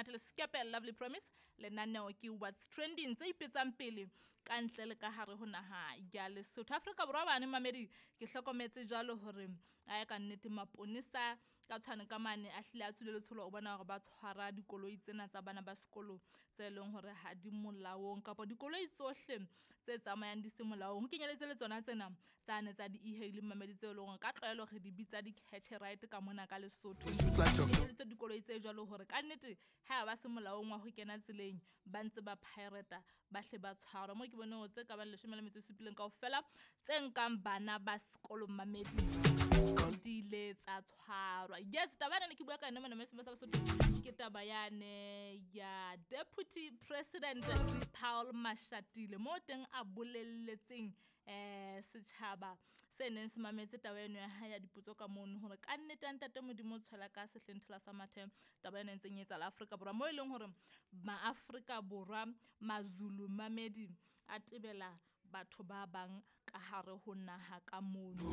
Monate le Skepe Lovely Promise. Lenaneo ke What's Trending tse ipetsang pele ka ntle le ka hare ho naha ya Lesotho. Afrika Borwa bane mamedi ke hlokometse jwalo hore a ka nnete maponesa ka tshwane ka mane a hlile a tswile letsholo o bona hore ba tshwara dikoloi tsena tsa bana ba sekolo tse leng hore ha di molaong kapa dikoloi tsohle tse tsamayang di se molaong. Ho kenyeletse le tsona tsena tsane tsa di-e-hailing mamedi tseo e leng hore ka tlwaelo re di bitsa di-catch ride ka mona ka Lesotho. Kenyeletse dikoloi tse jwalo hore ka nnete ha ba se molaong wa ho kena tseleng ba ntse ba pirate ba hle ba tshwarwa. Mo ke bone hore tse ka bang 17 kaofela tse nkang bana ba sekolo mamedi di ile tsa tshwarwa. Yes, taba ena ne ke bua ka yona mona mme sa Lesotho ke taba yane ya Deputy President Paul Mashatile mo teng a bolelletseng setjhaba se neng se mametse taba eno ya hae ya dipotso ka mono hore ka nnete ntate Modimo o tshwela ka sehleng thola sa mathe taba ena e ntseng e etsahala Afrika Borwa mo e leng hore maAfrika Borwa maZulu mamedi a tebela batho ba bang ka hare ho naha ka mono.